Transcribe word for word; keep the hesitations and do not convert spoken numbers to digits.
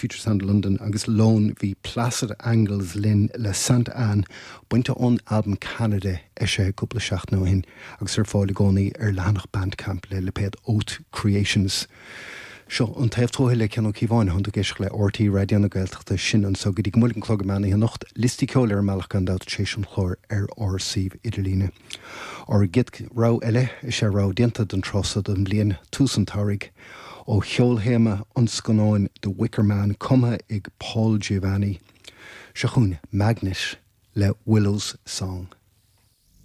Future Sound London agus Lone bhí Placid Angles linn le Santa Anne bainte ón albam Canada eisithe cúpla seachtain ó shin agus ar fáil i gcónaí ar leathanach Bandcamp le lipéad Oath Creations. Seo an taobh tuaithe le Cian Ó Cíobháin tá tú ag éisteacht le RTÉ Raidió na Gaeltachta sin anseo go dtí go mbuailfidh an clog meán oíche anocht liostaí ceoil ar an mbealach gan dabht tar éis an chláir ar ár suíomh idirlíne. Ár gcéad rogha eile is é rogha déanta don tráth seo den bhliain tús an tsamhraidh ó cheolthéama an scannáin The Wicker Man cumtha ag Paul Giovanni. Seo chugainn Magnet le Willow's Song.